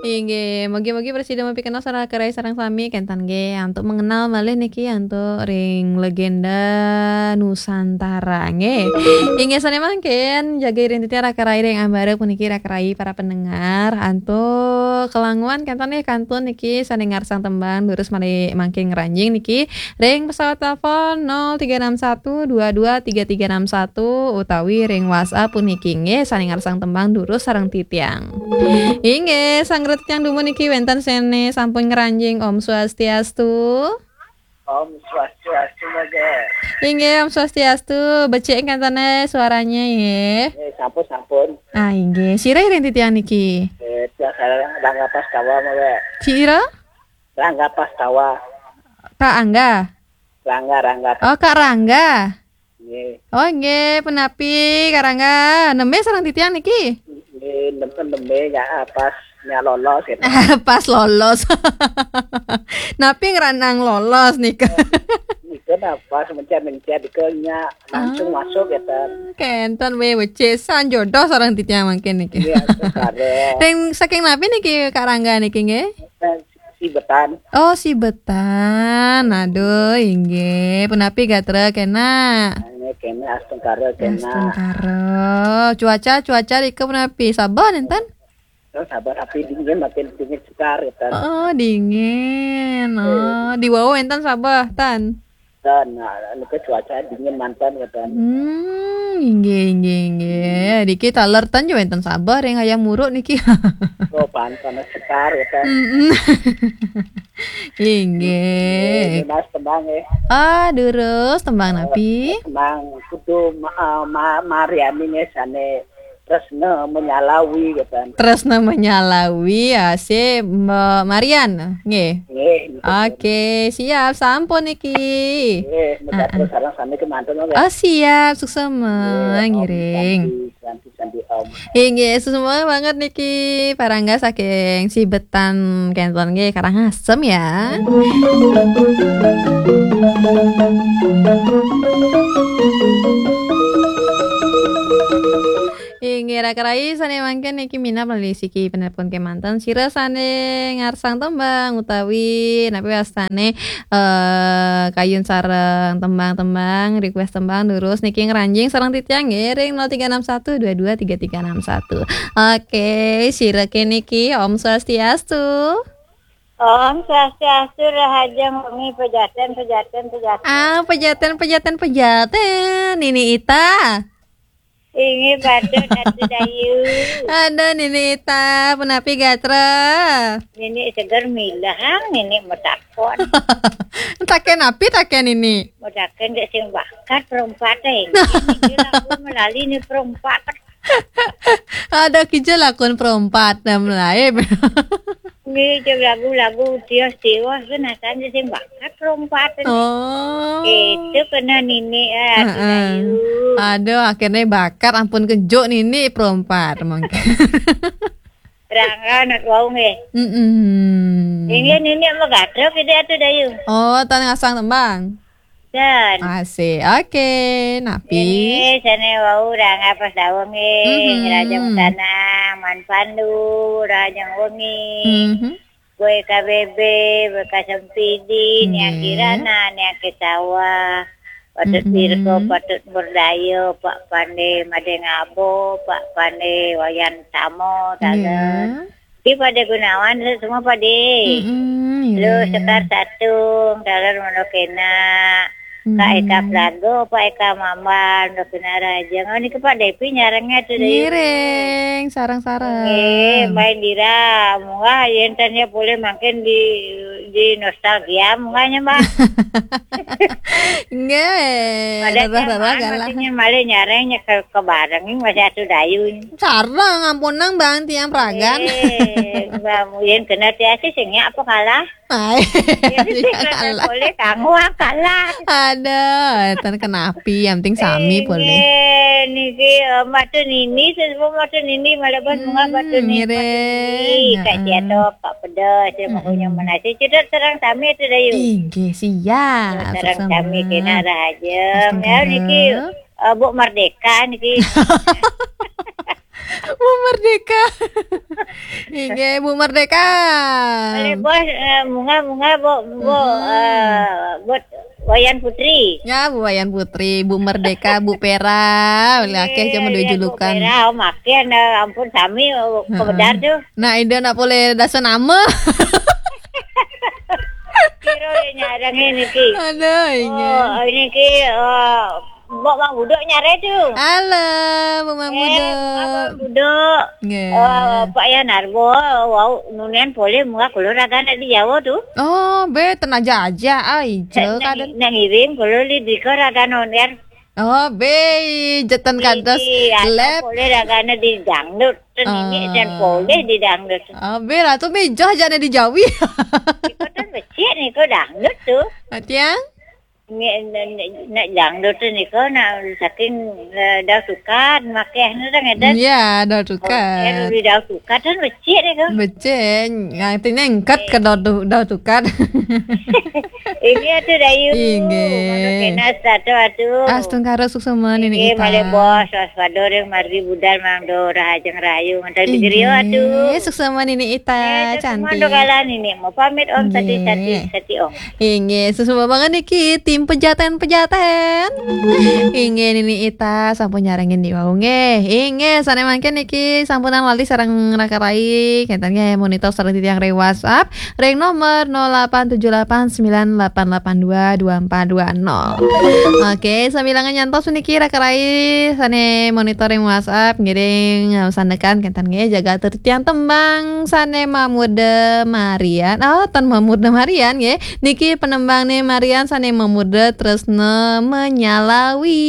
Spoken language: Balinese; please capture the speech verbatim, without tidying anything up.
Inggih, mugi-mugi prasida mapikantos sareng Raka Rai sareng sami, kénten nggih antuk mengenal malih niki antuk ring legenda Nusantara nggih. Inggih sané mangkin jaga ring titiang Raka Rai ring ambara puniki Raka Rai para pendengar antuk kelanguan kénten nggih kantun niki sané ngarsang tembang durus malih mangkin ngranjing niki ring pesawat telepon nol tiga enam satu dua dua tiga tiga enam satu utawi ring WhatsApp puniki nggih sané ngarsang tembang durus sareng titiang. Inggih, sang titiang dumun niki wénten sané sampun ngranjing. Om Swastiastu. Om Swastiastu, Mbak. Inggih, Om Swastiastu. Becik kénten suaranya nggih. Eh, sampun, sampun. Ah, inggih. Sira ring titiang niki? Eh, tiang sareng Rangga Pastawa, Mbak. Sira? Rangga Pastawa. Kak Angga. Rangga, Rangga. Oh, Kak Rangga. Nggih. Oh, nggih, punapi Kak Rangga? Nembé sareng titiang niki? Nggih, nembé, nembé ya pas nya lolos gitu. Pas lolos. Napi ngranang lolos nika? Nika nah pas mencet-mencet nika nya langsung Ah, masuk gitu. Kénten wé becik sang jodoh sareng titiang mangkin niki. Iya, sekarang. Ring saking napi niki Kak Rangga niki nggih? Eh, Sibetan. Oh, Sibetan. Aduh, inggih. Punapi gatra kénak? Ini kena astungkara kena. Astungkara. Cuaca, cuaca rika punapi? Sabeh nénten? Oh, sabeh tapi dingin, makin dingin sekar gitu. Oh, dingin. Oh, di wau énten sabeh, tan? Dan nah, nika cuaca dingin manten gitu. Hmm, inggih, inggih, inggih. Diki taler tan jo wénten sabeh ring Hayam Wuruk niki. Oh, pan panas sekar gitu. Mm-mm. Inggih. Mas tembang ya. Ah, durus tembang napi? Tembang kudu ma, ma, Mariani nih sané Tresna Menyalawi gitu. Tresna Menyalawi, ya, si Mbak Marian, nggih. Nggih, nggih. Oke, siap, sampun niki. Nggih, mudah Ah, ah. terus sareng sami kemanten, nggih. Oh, siap, suksema, Nggih, Om ngiring. Santi, Santi, Santi, Om. Inggih, suksema banget niki, Pak Rangga saking Sibetan kénten nggih, Karangasem ya. Inggih, Raka Rai, sané mangkin niki minab malih siki penelpon kémanten. Sira sané ngarsang tembang utawi napi wastané, eh, kayun sareng tembang-tembang, request tembang, durus niki ngranjing sareng titiang nggih ring nol tiga enam satu dua dua tiga tiga enam satu. Oke, sira ké niki, Om Swastiastu. Om Swastiastu, rahajeng wengi pejaten, pejaten, pejaten. Ah, pejaten, pejaten, pejaten. Nini Ita. Inggih, patut, Atu Dayu. Aduh, Nini Ita, punapi gatra? Nini seger milahang, Nini matakon. Takén napi takén Nini? Matakén dek sing bakat perompat, eh. Niki lagu melali ni perompat. Ada kija lakon perompat dan melaib. Nggih, cek lagu-lagu tios-tios kan asalnya sing bakat perompat. Oh. Itu kena Nini, eh, Atu Heeh. Dayu. Aduh, akhirnya bakat ampun kejuk Nini perompat mungkin. Rangga nak wau nggih. Mm-mm. Inggih Nini megatra kita Atu Dayu. Oh, tan ngasang tembang. Dan Asik. Oke, napi? Ini sané wau Rangga Pastawa nggih, Mhm. Rahajeng Tanang, Man Pandu, Rahajeng Wengi. Mhm. Boy K B B, Boy Kasempidi, Nia Nggih. Kirana, Nia Ketawa, Patut Mm-mm. Dirgo, Patut Murdaya, Pak Pande Madé Ngabo, Pak Pande Wayan Tamo, taler. Nggih. Ki Pade Gunawan, semua Pade. Mm-mm, Lu nggih. Sekar Satung, taler Mondo Kena. Kak Eka Mm-mm. Plago, Pak Eka Mambal, Mondo Kena Rahajeng. Oh, niki Pak Depi nyarengnya tuh, Dayu. Ngiring, sareng-sareng. Nggih, Mbak Indira, munggah yén tanya boleh mangkin di, di nostalgia, munggahnya, Mbak. Nggih, Pada rerah-rerah zaman galah. Masih malih nyareng nyekel kebareng, masih Atu Dayu. Sareng, ampunang, Bang, tiang pragan. Eh, Mbak, yén kena tiasi sing nyak apa kalah? Ai, Jadi, iya, sing kalah. Boleh kanggo kalah. Aduh, éten kenapi, yang penting sami boleh. Inggih, niki, eh, Mbak Tun Nini, sesepuh Mbak Tun Nini, malah bos, hmm, bunga Mbak Tun Nini, Mbak Tun Nini, ngiring, Kak heeh. Siato, Kak Pedas, ya, mm-mm. Pokoknya menasi. Cedot serang sami itu, Dayu. Inggih, siap. Cedot serang sami, kena rahaja. Astungkara. Ya, niki, eh, Bu Merdeka, niki. Bu Merdeka. Inggih, Bu Merdeka. Boleh, Bos, eh, munggah, munggah, Bu, Bu, eh, buat Wayan Putri. Ya, Bu Wayan Putri, Bu Merdeka, Bu Pera, boleh akeh cuma dua julukan. Pera, oh, makin, eh, ampun, sami, oh, kebedar tu. Nah, Ida nak boleh dasa nama. Kira dia nyarang ini ki. Aduh, ini. Oh, ini ki, oh, Mbok Mang Budok nyare tu. Halo, Bu Mang Budok. Mang Budok. Nggih. Eh, Pak Yanarbo, wau nunian boleh munggah kula ragane di Jawa tu. Oh, be tenaja aja, ai, je nak, kadang. Nak ngirim kula li dika ragane nunian. Oh, be jetan kados lep. Boleh ragane di dangdut. Nini dan boleh di dangdut. Oh, be lah tu be joh jane di Jawi. Iko kan becik niko dangdut tu. Atiang? Nak dangdut tu niko nak saking, eh, Dau Sukat makeh ni kan ngeden. Ya, Dau Sukat. Di Dau Sukat kan becik niko. Becik. Artinya engkat ke Dau, Dau Sukat. Ini atu Dayu. Inggih. Mano kena satu atu. Astungkara suksma Nini Ita. Malih bos waspada ring margi budal mangda rahajeng rahayu ngantos di griya atu. Inggih, suksma Nini Ita, cantik. Mangda kala Nini mau pamit Om, sati, sati, sati Om. Inggih, suksma banget niki tim pejaten-pejaten. Inggih, Nini Ita sampun nyarengin di wau nggih. Inggih, sane mangkin niki sampunang lali sareng Raka Rai, kenten nggih monitor sareng titiang ring WhatsApp ring nomor nol delapan tujuh delapan sembilan delapan delapan dua dua empat dua nol. Oke, sambilanga nyantos puniki Raka Rai sane monitor ring WhatsApp ngiring, eh, sandekan kenten nggih jaga atur titiang tembang sane mamurda Marian. Oh, tan mamurda Marian nggih. Niki penembangne Marian sane mamurda Tresna Menyalawi.